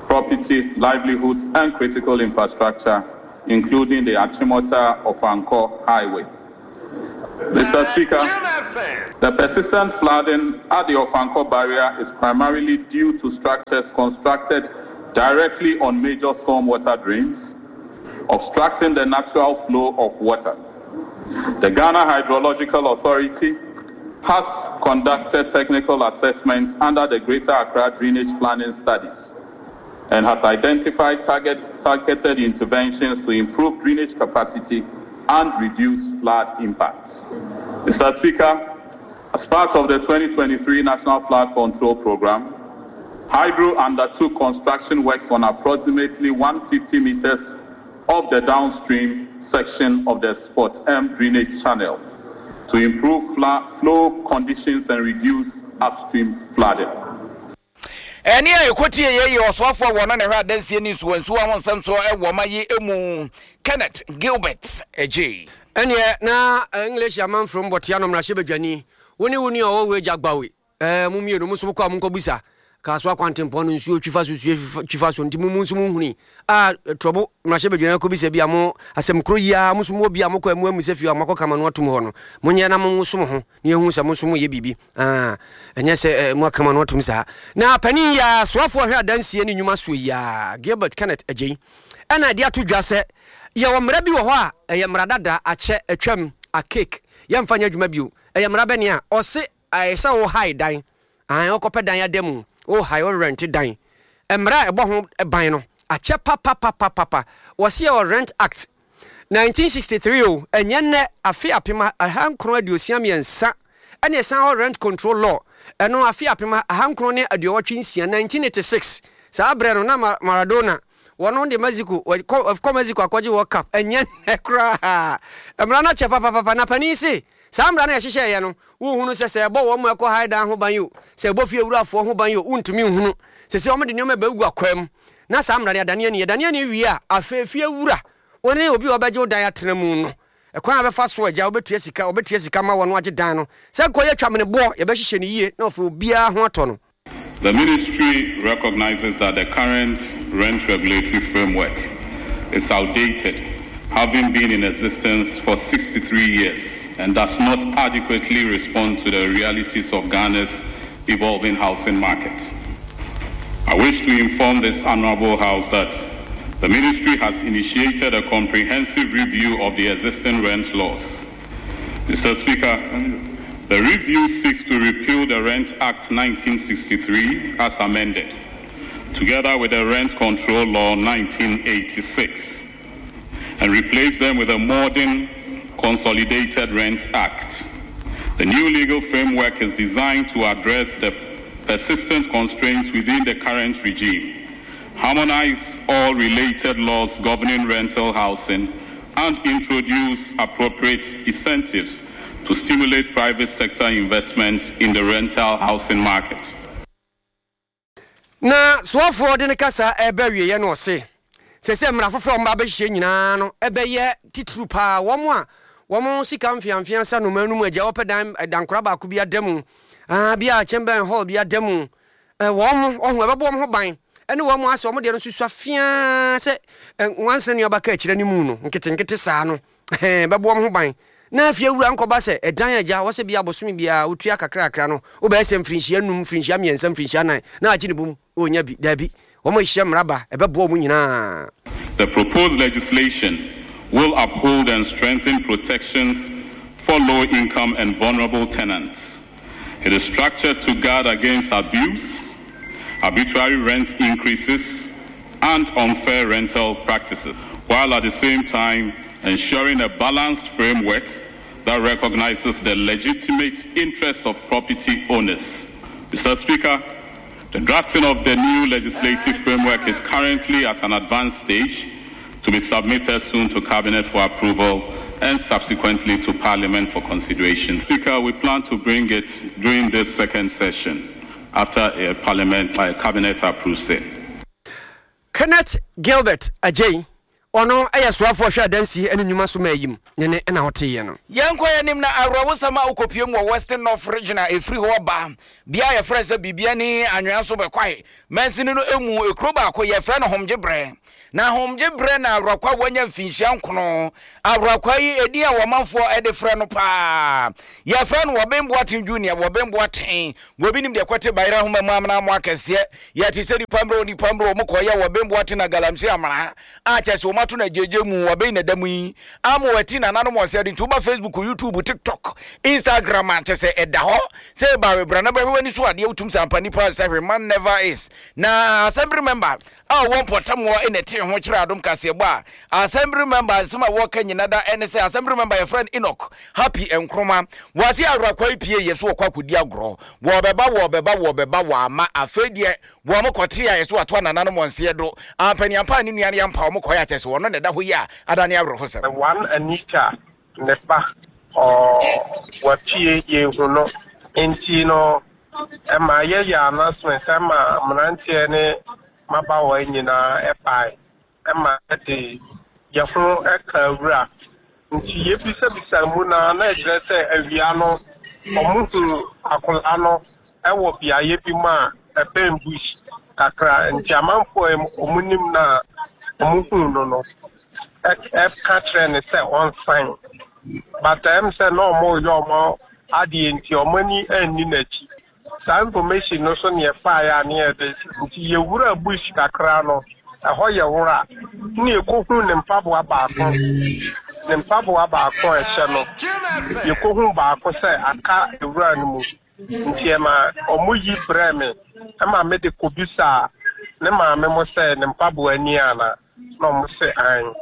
[SPEAKER 7] property, livelihoods, and critical infrastructure, including the Achimota Ofankor Highway. Mr. Speaker, the persistent flooding at the Ofankor barrier is primarily due to structures constructed directly on major stormwater drains, obstructing the natural flow of water. The Ghana Hydrological Authority has conducted technical assessments under the Greater Accra Drainage Planning Studies and has identified target, targeted interventions to improve drainage capacity and reduce flood impacts. Mr. Speaker, As part of the 2023 National Flood Control Program, Hydro undertook construction works on approximately 150 meters of the downstream section of the Spot M drainage channel to improve flow conditions and reduce upstream flooding.
[SPEAKER 2] Ɛnne a ɛkɔtieeɛ yɛ ɔsoafoɔ a wɔno na ɛhwɛ adansie ne nsuwansuwa ho nsɛm soɔ wɔ ɔman yi mu, Kenneth Gilbert Adjei.
[SPEAKER 1] Ɛnneɛ na English amanfrom bɔtea no mmarahyɛbadwani, wo ne wo nua a ɔwɔ w'agya Gbawe, ɛɛ, mo mmienu, mo nso mokɔ a monkɔbisa Kasoa kwantempɔn no nsuo twi fa so, nsuo twi fa so, nti mo mo nso monhunui a, Trɔbo mmarahyɛbadwani akɔbisa bi a mo asɛm koro yi ara, mo nso mowɔ bi a mokɔ a moammisa fie a moakɔka ma no atom hɔ no, monyɛ na monwoso mo ho na yɛnhu sɛ mo nso moyɛ biribi. Ah, ɛnyɛ sɛ eh, moaka mo ano atom saa. Na panin yi ara, soafoɔ a ɔhwɛ adansie ne nnwuma soɔ yi ara, Gilbert Kenneth Adjei, ɛna ɛde ato dwa sɛ yɛwɔ mmara bi wɔ hɔ a ɛyɛ mmara dada, akyɛ, atwam, archaic, yɛmfa nyɛ adwuma bio. Ɛyɛ mmara bɛne a ɔse ɛyɛ sɛ wo hae dan, ae, wokɔpɛ dan ada mu, wo hae, wo rɛnte dan. Mmara a ɛbɔ ho ban no, akyɛ papapapapapa. Wɔse yɛwɔ Rent Act 1963 o, ɛnyɛ nnɛ, afe 1963 ɛna ɛsan hɔ Rent Control Law, ɛno afe 1986, 1986, saa berɛ no na Maradona, wɔno de Mexico, kɔ Mexico akɔgye World Cup, ɛnyɛ nnɛ koraa, mmara no akyɛ papapapa, na panin se saa mmara no a yɛhyehyɛeɛ no, wohunu sɛ sɛ ɛbɔ wɔn a ɛkɔ hae dan ho ban o, sɛ ɛbɔ fie wurafoɔ ho ban o, wontumi nhunu, sɛsei wɔde nneɛma bɛgu akwaa mu. Na saa mmara no, yɛadane ani. Yɛdane ani wie a, afei fie wura, wo ne obi a ɔbɛgye wo dan atena mu no, ɛkwan a wobɛfa so agya, wobɛtua sika, wɔbɛtua sika ma wɔn agye dan no. Sɛ nkɔyɛ twameneboɔ, yɛbɛhyehyɛ no yie na afei obiara ho atɔ no.
[SPEAKER 7] The ministry recognizes that the current rent regulatory framework is outdated, having been in existence for 63 years, and does not adequately respond to the realities of Ghana's evolving housing market. I wish to inform this honorable house that the ministry has initiated a comprehensive review of the existing rent laws. Mr. Speaker, the review seeks to repeal the Rent Act 1963 as amended, together with the Rent Control Law 1986, and replace them with a modern Consolidated Rent Act. The new legal framework is designed to address the persistent constraints within the current regime, harmonize all related laws governing rental housing, and introduce appropriate incentives to stimulate private sector investment in the rental housing market.
[SPEAKER 1] Na soafoɔ de ne kasa reba awieɛ no ɔse, seesei mmara foforɔ a wɔba abɛhyehyɛ nyinaa no bɛyɛ titiriw paa wɔn a wɔn sika mfeamfea sa nnomaa no mu agya wɔpɛ dan dankora baako bi ada mu, ah, bi a chamber and hall bi ada mu, eh, wɔn ɔho ɛbɛbɔ wɔn ho ban ɛne wɔn asɛ wɔn deɛ no nso sua feaa sɛ nwansena nuaba ka akyire no mu no nketenkete saa no. Ɛhɛn, bɛbɔ wɔn ho ban. Na afie wura nkɔba sɛ ɛdan agya hɔ sɛ bia bosome biara wotua kakrakra no, wobɛyɛ sɛ mfirinhyia num, mfirinhyia mmiɛnsa, mfirinhyia nan, na agye ne bom, ɔnnya bi. Daabi, wɔn a ɛhyia mmara ba, ɛbɛboa wɔn nyinaa.
[SPEAKER 7] The proposed legislation will uphold and strengthen protections for low-income and vulnerable tenants. It is structured to guard against abuse, arbitrary rent increases, and unfair rental practices, while at the same time ensuring a balanced framework that recognizes the legitimate interest of property owners. Mr. Speaker, the drafting of the new legislative framework is currently at an advanced stage to be submitted soon to Cabinet for approval and subsequently to Parliament for consideration. Speaker, we plan to bring it during this second session after a Parliament, a Cabinet approves it.
[SPEAKER 1] Kenneth Gilbert Adjei, ɔno yɛ soafoɔ ɔhwɛ adansie ne nnwuma so mayim ne ne na woteeɛ no.
[SPEAKER 2] Yɛnkɔ yɛn anim na awerɛhosɛm a wokɔpue mu wɔ Western North Region a ɛfiri hɔ ba bea a yɛfrɛ no sɛ Bibiani Anwea so bɛkwae mansini no mu ekuro baako yɛfrɛ no Homgyebrɛ. Na Homgyebrɛ na Awurakwa a wanya mfinhyia nkono. Awurakwa yi edin a wɔmanfoɔ de frɛ no paa yɛfrɛ no Wɔben Boateng Junior, Wɔben Boateng. Wɔbi nim deɛ kɔte bayerɛ ahoma mu amena mo akɛseɛ Yɛte sɛ nipa mmerɛ o nipa mmerɛ o Wɔn kɔyɛ wɔben boate na galamsey amena a kyɛ sɛ wɔn ato no agyegye mu wɔben na da mu yi ama wɔati nananom wɔn sɛ de nti woba Facebook YouTube TikTok Instagram a kyɛ sɛ ɛda hɔ sɛ ɛba webra na bɛhwɛ w'ani so adeɛ wotum sɛ ampa nipa nsɛ hwɛ man never is na assembly member a ɔwɔ mpɔtam hɔ na ɛte ho. ho kyerɛ Adom Kaseɛbɔ a, Assembly member nsɛm a wɔka nyina da ɛne sɛ Assembly member yɛfrɛ no Enoch Happy Nkrumah wɔase Awurakwaa yi pie yɛ so wɔkɔ akɔdi agorɔ wɔɔbɛba wɔɔbɛba wɔɔbɛba wɔama afei deɛ wɔn kɔte a yɛ so wɔato anananom wɔn seɛ do ampaniampa a ne nua no yɛmpa wɔn kɔɛ akyɛ sɛ wɔno na ɛda hɔ yi a adane awerɛhosɛm.
[SPEAKER 8] One Anita ne ba ɔ wapue yɛnhu no nti no ɛma yɛyɛ announcement ɛma mmeranteɛ ne mmabaawa nyinaa ɛbae ɛma yɛde yɛho ɛka wura nti yɛbisabisa mu na na ɛkyerɛ sɛ awia no ɔmo hu akwadaa no ɛwɔ beaeɛ bi mu a ɛbɛn bush kakra nti amanfoɔ a ɔmo nim na ɔmo hu no no ɛka kyerɛ ne sɛ ɔnsan but ɛm sɛ na ɔmo yɛ ɔmo adeɛ nti ɔmo ani anni n'akyi saa information no so ne yɛfaeɛ a ne yɛde nti yɛwura bush kakra no ɛhɔ yɛ wora ne yɛkɔhu ne mpaboa baako ne mpaboa baako a ɛhyɛ no yɛkɔhu baako sɛ aka ewura no mu nti ɛma ɔmo yi brɛ me ɛma mede kɔbisa ne maame mo sɛ ne mpaboa ni ana na ɔmo sɛ an.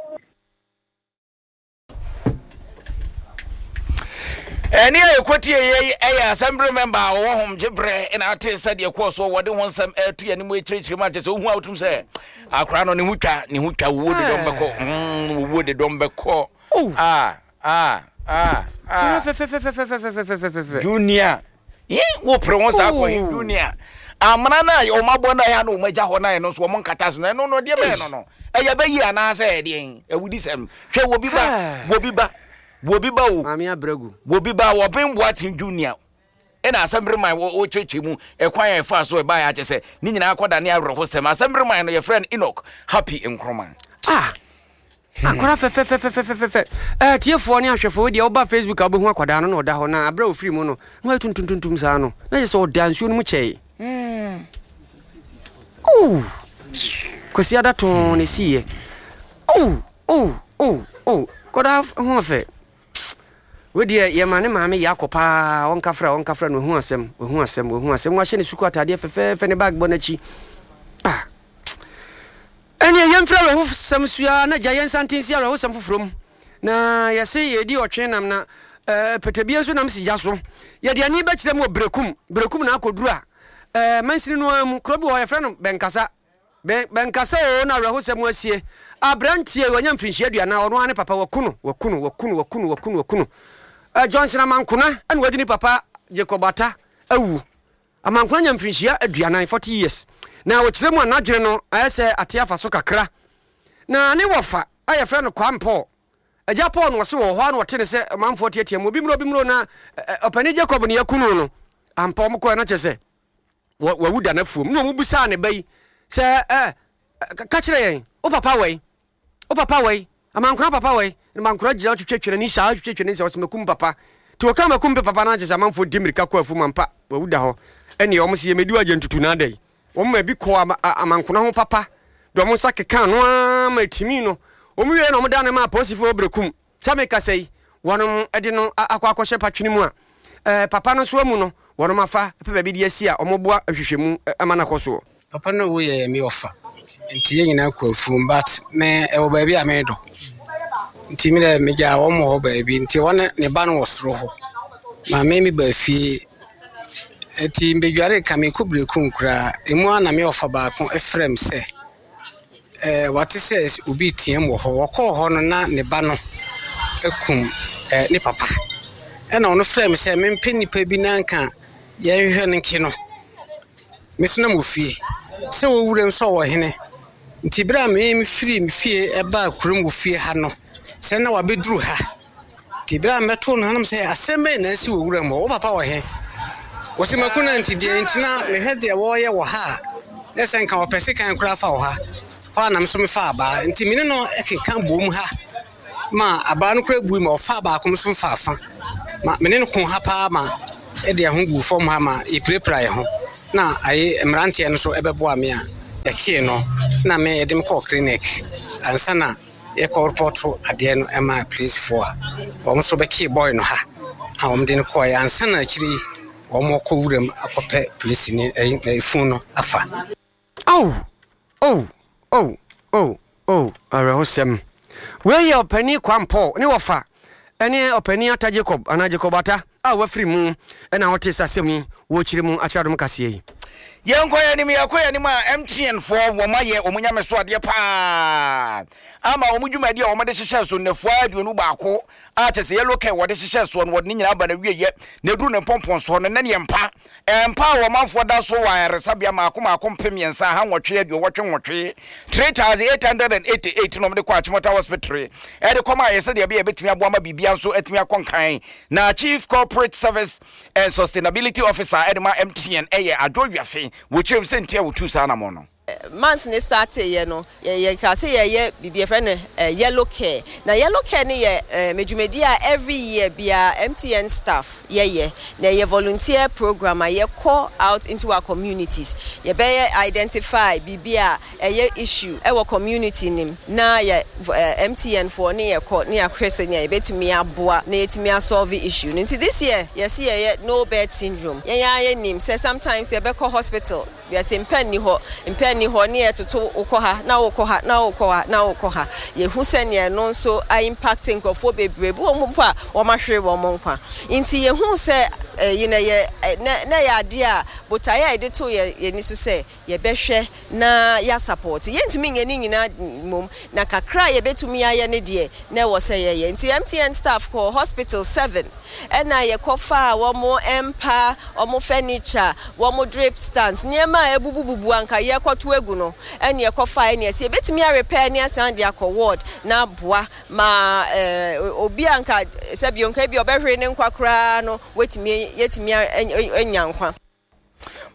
[SPEAKER 2] Ɛne a yɛkɔtie yei ɛyɛ assembly member a ɔwɔ hom gye berɛ ɛna ate sɛdeɛ kɔɔ soɔ wɔde ho nsɛm ɛto yɛne mu akyirikyiri mu akyɛ sɛ wohu a wotum sɛ akora no ne ho twa ne ho twa wuo de dɔm bɛkɔ wuo de dɔm bɛkɔ ah ah ah ah junior wopere ho saa kɔ junior amena no a wɔn abɔ no a na wɔn agya hɔ no a ɛno nso wɔn nkata so no ɛno no deɛ bɛyɛ no no ɛyɛ bɛyi anaasɛ ɛdeɛn awudi sɛm hwɛ wɔ bi ba wɔ bi ba wɔ bi ba o
[SPEAKER 1] maame abrɛgu
[SPEAKER 2] wɔ bi ba wɔben boaten junior ɛna asɛmbere man wɔkyerɛkyerɛ mu ɛkwan a ɛfa so ɛbaeɛ akyɛ sɛ ne nyinaa kɔda ne awerɛhosɛm asɛmbere man no yɛfrɛ no Enoch Happy Nkrumah.
[SPEAKER 1] Ah! Akwadaa fɛfɛfɛfɛfɛfɛ. Ɛɛ tiefoɔ ne ahwɛfoɔ deɛ woba Facebook a wobɛhu akwadaa no na ɔda hɔ na aberɛ a ɔfiri mu no na wayɛ tuntumtuntum saa no na kyerɛ sɛ ɔda nsuo no mu kyɛe. Oh! Kwasi ada tɔn na ɛsiiɛ. Oh! Oh! Oh! Oh! Akwadaa ho ɔfɛ. Wei deɛ yɛma ne maame yɛ akɔ paa ɔnkafra ɔnkafra no wahu asɛm wahu asɛm wahu asɛm wahyɛ ne sukuu ataadeɛ fɛfɛɛfɛ ne bag bɔ n'akyi. Ah! Ɛnneɛ yɛmfiri awerɛhosɛm so ara na gya yɛn nsa nte nsi awerɛhosɛm foforɔ mu. Na yɛse yɛredi ɔtwe nam na eh, pɛtɛbie nso nam si gya so. Yɛde ani bɛkyerɛ mu wɔ Berekum. Berekum na akɔduru a, eh, mansini no ara mu. Kuro bi wɔ hɔ yɛfrɛ no Bɛnkasa. Bɛn, Bɛnkasa oo na awerɛhosɛm asie. Aberanteɛ yi, wanya mfirinhyia aduanan, ɔno ara ne papa, waku no, waku no, waku no, waku no, waku no, waku no. Eh, Johnson Amankona ɛna wadi ne papa Jacob Atta awu. Amankona nya mfirinhyia 40, 40 years, na ɔkyerɛ mu a n'adwene no ayɛ sɛ ate afa so kakra. Na ne wɔfa a yɛfrɛ no Kwame Paul, Agya Paul no ɔse wɔ hɔ a na ɔte ne sɛ ɔmanfoɔ teatea mu, obi mmra obi mmra o na ɔpanin Jacob ne yɛaku no no. Ampa wɔn kɔɛ na kyerɛ sɛ wawu da n'afuom. Na wɔn bisaa ne ba yi sɛ ɛ ka kyerɛ yɛn, wo papa wɔ yi? Wo papa wɔ yi? Amankona papa wɔ yi? Na Amankona gyina hɔ twitwa n'ani saa twitwa n'ani saa ɔsɛ makum papa. Nti wɔka makum papa no akyɛ sɛ amanfoɔ di mmirika kɔ afuom ampa wawu da hɔ. Ɛneɛ wɔn sɛ yɛmɛdi wagya ntutu na ada yi. Wɔn ma bi kɔɔ ama, Amankona ho papa de wɔn nsa keka ano ara ma ɛtimii no. Wɔn wieɛ na wɔn da no maa apolisifoɔ wɔ Berekum. Sɛ mekasa yi, wɔnom de no akɔ akɔhyɛ patwene mu a, ɛɛ, papa no nso amu no, wɔnom afa pɛ baabi de asi a wɔboa nhwehwɛmu ma no akɔ soɔ.
[SPEAKER 9] Papa no wu yɛ me ɔfa nti yɛn nyinaa kɔ afuom but me ɛwɔ baabi a medɔ nti me dɛ megyaa wɔn wɔ hɔ baabi nti wɔn ne ba no wɔ soro hɔ ma me me ba fie nti mbedware ka me kɔ berekum koraa emu a na me ɔfa baako frɛ me sɛ ɛɛ wate sɛ obi team wɔ hɔ wɔkɔɔ hɔ no na ne ba no akum ɛɛ ne papa ɛna ɔno frɛ me sɛ mempɛ nipa bi na nka yɛnhwehwɛ no nke no. Me nso na mewɔ fie. Sɛ ɔwɔ wuram sɛ ɔwɔ hene. Nti berɛ a me mefiri me fie baa kurom wɔ fie ha no, sɛ na wabɛduru ha. Nti berɛ a mɛtoo no ha no sɛ asɛm bɛn na asi wɔ wuram hɔ? Wo papa wɔ he? Wɔsi mako na nti deɛ nti na mehwɛ deɛ wɔreyɛ wɔ ha a, na sɛ nka wɔpɛ sekan koraa fa wɔ ha. Hɔ a na me nso mefaa abaa. Nti me ne no keka boom ha. ma abaa no koraa bui ma ɔfaa baako nso faa fa ma me ne no ko ha paa ma ɛde ɛho guu fam ha ma yɛpirapira yɛn ho na aye mmeranteɛ no nso ɛbɛboa me a yɛkyee no na me yɛde me kɔɔ clinic ansa na yɛkɔ repɔto adeɛ no ɛma polisifoɔ a wɔn nso bɛkyee boy no ha a wɔn de no kɔɔeɛ ansa na akyire yi wɔn kɔ wuram akɔpɛ polisini ɛyi efun no afa.
[SPEAKER 1] Oh! Oh! Oh! Oh! Oh, awerɛhosɛm. Wei yɛ Ɔpanin Kwam Paul ne wɔfa ne Ɔpanin Atta Jacob anaa Jacob Atta a wafiri mu na wɔte saa asɛm yi wɔ kyerɛ mu akyerɛ adom kaseɛ yi.
[SPEAKER 2] Yɛnkɔ yɛn anim, yɛkɔ yɛn anim a MTN foɔ wɔn ayɛ wɔn nyame so adeɛ paa ama wɔn dwumadi a wɔn de hyehyɛ so nnafua 21 a kyɛ sɛ yellow care wɔde hyehyɛ soɔ no wɔde ne nyinaa aba na wieɛ na ɛduru ne mpɔmpɔn soɔ no na neɛ mpa mpa a ɔmanfoɔ da so wɔ ayaresabea mmaako mmaako 3888, 3888 na wɔde kɔ Achimota Hospital de kɔma ayɛ sɛdeɛ ɛbɛyɛ ɛbɛtumi aboa ma biribiara nso atumi akɔ nkan. Na Chief Corporate Service and Sustainability Officer de ma MTN yɛ Adwo Wiafe, wɔkyerɛ mu sɛ nti a wɔtuu saa anammɔn no.
[SPEAKER 10] Month no starteeɛ no, yɛkaa sɛ yɛreyɛ biribi yɛfrɛ no Yellow Care. Na Yellow Care no yɛ dwumadie a every year biara MTN staff yɛyɛ. Na ɛyɛ volunteer program a yɛkɔ out into our communities. Yɛbɛyɛ identify biribi a ɛyɛ issue wɔ community no mu na yɛ MTN foɔ ne yɛkɔ ne yɛahwɛ sɛnea yɛbɛtumi aboa na yɛatumi asolve issue no. Nti this year yɛse yɛyɛ No Bed Syndrome. Yɛn ara yɛnim sɛ sometimes yɛbɛkɔ hospital Wiase mpa nni hɔ, mpa nni hɔ, ne yɛtoto wokɔ ha na wokɔ ha na wokɔ ha na wokɔ ha. Yɛhu sɛnea ɛno nso a impact nkurɔfoɔ bebree, bi wɔ hɔ mpo a wɔahwere wɔn nkwa. Nti yɛhu sɛ ɛyi no ɛyɛ na na ɛyɛ adeɛ a botaeɛ a yɛde too yɛn ani so sɛ yɛbɛhwɛ na yɛasapɔɔte. Yɛntumi nyɛ ne nyinaa mmom, na kakra a yɛbɛtumi ayɛ no deɛ na ɛwɔ sɛ yɛyɛ. Nti MTN staff kɔɔ hospital seven ɛna yɛkɔfaa wɔn mpa, wɔn furniture, wɔn drip stands, nneɛma a abubububu a anka yɛrekɔto agu no, ɛna yɛkɔfae ɛna yɛse yɛbɛtumi a repair ne asan de akɔ ward na aboa ma obi a anka sɛbi nka ebi ɔbɛhwere ne nkwa koraa no watumi yɛatumi anya nkwa.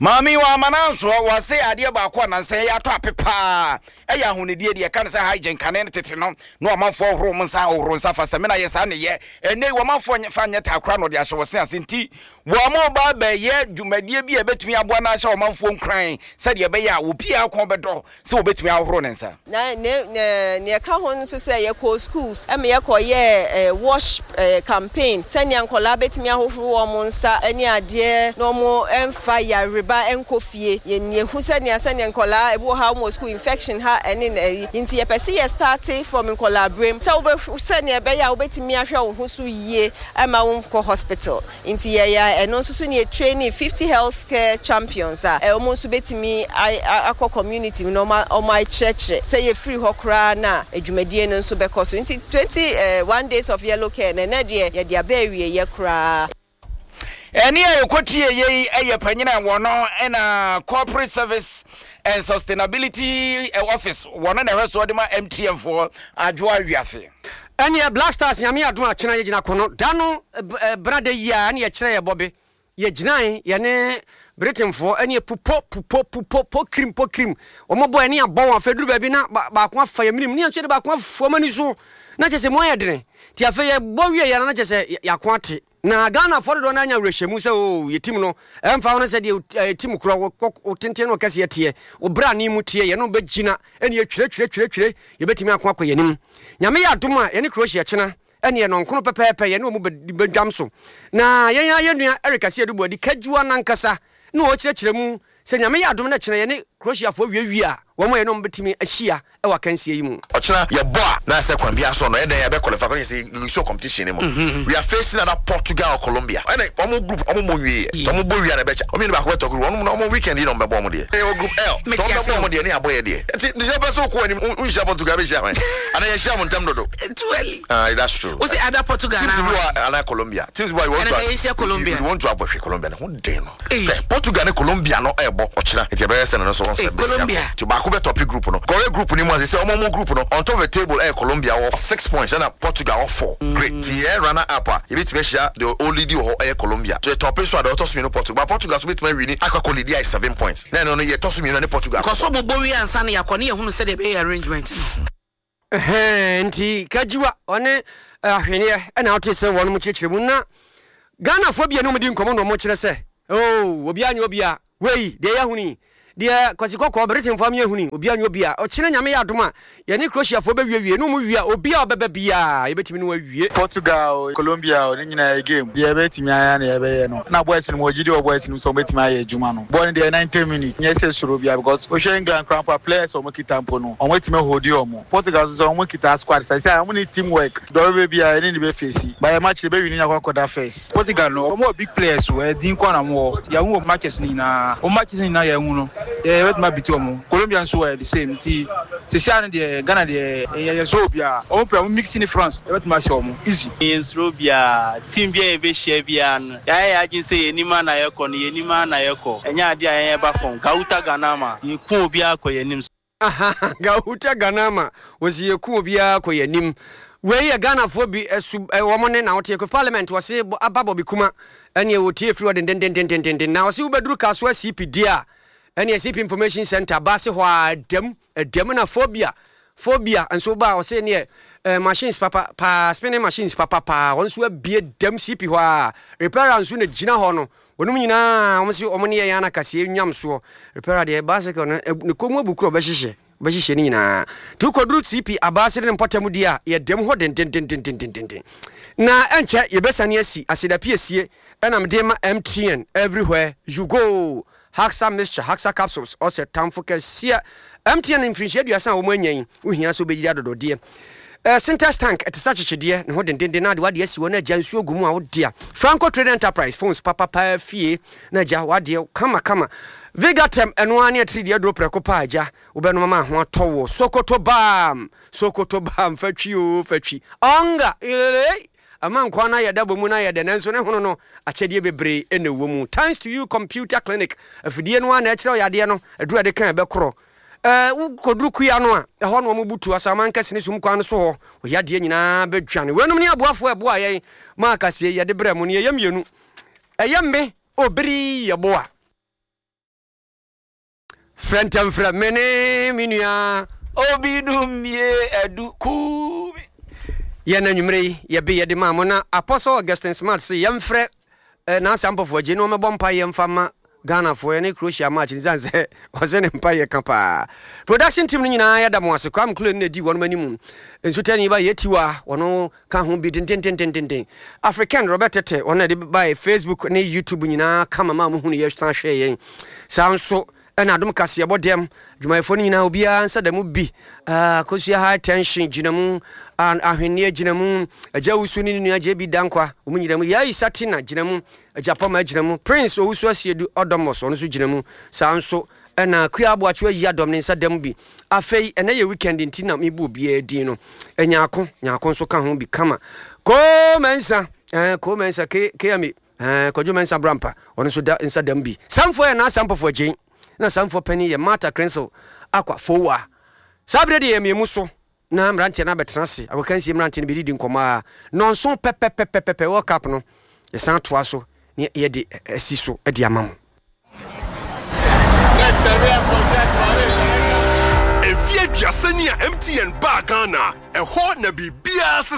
[SPEAKER 2] Maame yi wamma no ansoɔ, wɔse adeɛ baako a nansa yi atɔ ape paa ɛyɛ ahonidie, deɛ ɛka ne sɛ hygiene, kane no tete no na ɔmanfoɔ hohoro wɔn nsa, hohoro nsa fa samina yɛ saa nneyɛ, ɛnnɛ yi wɔmanfoɔ fa nyɛ taa koraa na wɔde ahyɛ wɔn se ase nti wɔn ba bɛyɛ dwumadie bi a ɛbɛtumi aboa na ahyɛ ɔmanfoɔ nkuran sɛdeɛ ɛbɛyɛ a obiara kɔn bɛdɔ sɛ wɔbɛtumi ahohoro ne nsa.
[SPEAKER 10] Na ne ne nea ɛka ho nso sɛ yɛkɔɔ schools ma yɛkɔyɛɛ wash campaign sɛnea nkwadaa bɛtumi ahohoro wɔn nsa ne adeɛ na wɔmfa yareba nkɔ fie. Yɛn yɛhu sɛnea sɛnea nkwadaa ebi wɔ ha wɔn wɔ school infection ha ɛne na ɛyi nti yɛpɛ sɛ yɛ starte from nkwadaa berem sɛ wobɛ sɛnea ɛbɛyɛ a wobɛtumi ahwɛ wo ho so yie ɛma wonkɔ hospital. Nti yɛyɛ ɛno nso so ne yɛ traini 50 health care champions a wɔn nso bɛtumi akɔ community mu na wɔn akyerɛkyerɛ sɛ yɛfiri hɔ koraa no a dwumadie no nso bɛkɔ so. Nti 21 days of yellow care no ɛnɛ deɛ yɛde aba awieɛ koraa.
[SPEAKER 2] Ɛnne a yɛkɔtieeɛ yi yɛ panyin a wɔno na Corporate Service and Sustainability Office wɔno na ɛhwɛ soɔ de ma MTN foɔ Adwoa Wiafe.
[SPEAKER 1] Ɛneɛ Black Stars Nyame adom a kyena yɛgyina kono da no bra da yi a ɛne yɛkyerɛ yɛ bɔbe yɛgyinae yɛne Britainfoɔ ɛne pupo pupo pupo po kirim po kirim wɔn bɔ ɛne abɔ wɔn afei duru baabi na baako afa yɛ minim ne yɛn nso yɛde baako afu wɔn ani so na kyɛ sɛ mu ayɛ dene ti afei yɛbɔ wie yɛn na kyɛ sɛ yɛako ate Na Ghanafoɔ dodoɔ no ara nya awerɛhyɛmu sɛ oo yɛ team no ɛmfa ho ne sɛdeɛ yɛ team korɔ wo tenten ne wo kɛseɛ teɛ, wo brane mu teɛ, yɛne wo bɛgyina ɛne yɛtwire twire twire twire yɛbɛtumi ako akɔ yɛn anim. Nyame yɛ adom a yɛne Croatia kyena ɛneɛ nɔnkono pɛpɛɛpɛ yɛne wɔn bɛdwam so. Na yɛn ara yɛn nua Eric Asiedu Boadi Kadwua no ankasa na ɔrekyerɛkyerɛ mu Sɛ Nyame yɛ adom na kyena yɛne Croatiafoɔ wiewie a, wɔn a yɛne wɔn bɛtumi ahyia wɔ akansie yi mu.
[SPEAKER 11] Ɔkyena yɛbɔ a na sɛ kwan biara so no ɛyɛ dɛn yɛbɛ qualify kɔ yɛsɛ yɛsɔ competition no mu we are facing either Portugal or Colombia ɛna wɔn group wɔn mmɔ nwie yɛ sɛ wɔn bɔ wie a na ɛbɛkyɛ wɔn mmienu baako bɛtɔ group wɔn na wɔn weekend yi na wɔn bɛbɔ wɔn deɛ yɛwɔ group L sɛ wɔn bɛbɔ wɔn deɛ ne yɛabɔ yɛ deɛ nti deɛ ɔpɛ sɛ wokɔ anim wonhyia Portugal bɛhyia hwan anaa yɛhyia mo ntɛm dodo
[SPEAKER 12] Too early.
[SPEAKER 11] Ah, that's true.
[SPEAKER 12] Wose either Portugal
[SPEAKER 11] Teams
[SPEAKER 12] anaa
[SPEAKER 11] bi
[SPEAKER 12] hwan?
[SPEAKER 11] wɔ anaa Colombia. Teams bi wɔ you want
[SPEAKER 12] Ɛna
[SPEAKER 11] to
[SPEAKER 12] ka yɛnhyia Colombia.
[SPEAKER 11] you want to avoid hwɛ Colombia ne ho den no.
[SPEAKER 12] Ei.
[SPEAKER 11] Hwɛ, Portugal ne Colombia no ɛrebɔ ɔkyena nti ɛbɛyɛ sɛ no nso wɔn
[SPEAKER 12] Ei,
[SPEAKER 11] sɛ bɛsi akɔ.
[SPEAKER 12] Colombia.
[SPEAKER 11] Nti baako bɛ tɔpe group no. Kɔhwɛ group no mu a sɛsɛ wɔn wɔn group no on top of the table ɛyɛ Colombia wɔ six points ɛna Portugal wɔ four. Great. Nti yɛyɛ runner up a yɛbɛtumi ahyia deɛ ɔleadi wɔ hɔ ɛyɛ Colombia. So yɛ tɔpe nso a deɛ ɔtɔ so mmienu Portugal. But Portugal nso bɛtumi awini akɔ akɔ leadi ayɛ seven points. Na ɛno no yɛtɔ so mmienu ɛne Portugal
[SPEAKER 12] Kɔ
[SPEAKER 11] akɔbɔ.
[SPEAKER 12] so bobɔ wie ansa na yɛakɔ ne yɛhunu sɛdeɛ ɛbɛyɛ arrangement no.
[SPEAKER 1] Ɛhɛɛ nti Kajiwa ɔne Ahweneɛ ɛna wote sɛ wɔnom kyerɛkyerɛ mu na Ghanafoɔ bi a ne wɔn di nkɔmmɔ na wɔn kyerɛ sɛ oo obiara nyɛ obiara wei deɛ yɛahunu yi. Deɛ Kwasi Kɔkɔɔ, Britainfoɔ ama yɛahunu yi, obiara nyɛ obi a ɔkyena Nyame yɛ adom a, yɛne Croatiafoɔ bɛwiewie, ne wɔn wie a, obi a ɔbɛba biara, yɛbɛtumi ne wɔn awie.
[SPEAKER 13] Portugal o, Colombia o, ne nyinaa yɛ game. Deɛ yɛbɛtumi ayɛ ara na yɛbɛyɛ no. Na boys no, mewɔ gyidi wɔ boys no mu sɛ wɔbɛtumi ayɛ adwuma no. Bɔɔl no deɛ 90 minutes, nyɛ sɛ suro biara because wohwɛ England koraa mpo a, players a wɔkita mpo no, wɔatumi aholdi wɔn. Portugal nso sɛ wɔkita squad seesei a, wɔne team work. Deɛ ɔbɛba biara, yɛne no bɛfeesi. But yɛn match no, yɛbɛwini na yɛakɔ akɔda first.
[SPEAKER 14] Portugal no wɔn wɔ big players o, ɛyɛ din nkoa na wɔn wɔ. Yɛahu wɔn matches no nyinaa, wɔn matches no nyinaa yɛahu no, yɛ yɛbɛtumi abiti wɔn. Colombia nso ɛyɛ the same nti seesei ara no deɛ Ghana deɛ yɛ yɛnsuro obiara. Wɔn pɛ wɔn mix ne France yɛbɛtumi ahyɛ wɔn easy.
[SPEAKER 15] Yɛnsuro obiara, team biara a yɛbɛhyia biara no yɛayɛ yɛn adwene sɛ yɛn anim ara na yɛkɔ no, yɛn anim ara na yɛkɔ. Ɛnyɛ adeɛ a yɛn yɛba fam. Gauta Ganama, yɛku obiara kɔ yɛn anim.
[SPEAKER 1] Gahuta Ganama wɔsi yɛku obiara kɔ yɛn anim. Wei yɛ Ghanafoɔ bi su wɔn ne na woteɛ kɔ parliament wɔse aba Bobby Kuma ɛneɛ wɔtie firi hɔ dendendendendenden na wɔse wobɛduru Kasoa CP deɛ a ɛneɛ CP Information Center baase hɔ a ɛdam ɛdam na phobia phobia nso ba a wɔse neɛ eh, machines papa paa spinning machines papa paa wɔn nso abie dam CP hɔ a repairer nso na gyina hɔ no Wɔnom nyinaa wɔn se wɔn ne yɛn ana kaseɛ nwam soɔ. Repairer deɛ bicycle no ne kɔn mu abu koro ɔbɛhyehyɛ ɔbɛhyehyɛ ne nyinaa. Nti wokɔduru TP Abaase ne ne mpɔtam deɛ a yɛdam hɔ dendendendendenden. Na ɛnkyɛ yɛbɛsane asi aseda piesie ɛna mede ma MTN everywhere you go. Haxa mixture, Haxa capsules, ɔsɛ tamfo kɛseɛ. MTN mfirinhyia aduasa a wɔn anya yi, wohia sɛ wobɛyiri adɔdɔdeɛ. Eh, Sintex tank, ɛte sɛ akyekyedeɛ, ne ho dendenden na ade w'adeɛ asi hɔ na agya nsuo gu mu a wodea. Franco Trading Enterprise, phones papa paa fie na agya w'adeɛ kama kama. Vigatem, ɛno ara ne atirideɛ aduro prɛko paa agya, wobɛnom ama ho atɔ wo. Sokoto Balm, Sokoto Balm, fa twi oo, fa twi. Ɔnga, eeii. Ɛma nkoa no ayɛ dɛ bɔ mu no ayɛ dɛ nanso ne hono no akyɛdeɛ bebree na ɛwɔ mu. Thanks to you computer clinic afidie no ara na ɛkyerɛ wo yadeɛ no aduru a ɛde ka ɛbɛkorɔ. Ɛɛ wokɔduru kua no a ɛhɔ na wɔn butu asaman kɛse ne sum kwan no so hɔ wo yadeɛ nyinaa bɛdwane. Weinom ne aboafoɔ a ɛboa yɛn ma akasie yɛde brɛ mo no yɛyɛ mmienu. Ɛyɛ me Obiri Yeboah. Frɛ ntɛm frɛ me ne me nua.
[SPEAKER 2] Obi dum mie adu kuu me.
[SPEAKER 1] Yɛn anwummere yi yɛbe yɛde maa mo na Apostle Augustine Smart se yɛmfrɛ eh, Nancy Ampofo agye na ɔmmɛbɔ mpaeɛ mfa ma Ghanafoɔ yɛne Croatia match no sane sɛ ɔse ne mpaeɛ ka paa. Production team no nyinaa yɛda mo ase. Kwame Kule no na ɛdi wɔnom anim. Nsutani ba Yetiwa wɔno ka ho bi dendendendenden. African Robert Tete, wɔn na ɛde bae Facebook ne YouTube nyinaa kama ma wɔhunu yɛ san hwɛɛ yɛn. Saa nso ɛna adom kaseɛbɔ dɛm adwumayɛfoɔ no nyinaa obiara nsa da mu bi. Akosua high tension gyina mu, ahwenneɛ gyina mu, Agya Wusu ne ne nua JB Dankwa wɔn nyina mu, Yayi Satina gyina mu, Agya Pɔma gyina mu, Prince Owusu Asiedu Ɔdɔmɔs ɔno nso gyina mu. Saa nso Ɛna Akua Aboakye ayi adɔm ne nsa da mu bi. Afei ɛnɛ yɛ weekend nti na mebu obiara din no. Nyarko, Nyarko nso ka ho bi kama. Koo Mensah, eh, Koo Mensah, K, KMA, eh, Kwadwo Mensah Brampa, ɔno nso da nsa da mu bi. Samfoɔ yɛ Naa Sampɔfo Agyei, na Samfoɔ panin yɛ Martha Crensel Akwa Fowa. Saa berɛ deɛ yɛ mmiemu so na mmeranteɛ no abɛtena ase, agokansie mmeranteɛ no bɛdidi nkɔmmɔ a, nnɔnson pɛpɛpɛpɛpɛ World Cup no, yɛsan toa so ne yɛde asi so de ama mo.
[SPEAKER 5] Mfeɛ aduasa ni a MTN baa Ghana, ɛhɔ na biribiara sesa.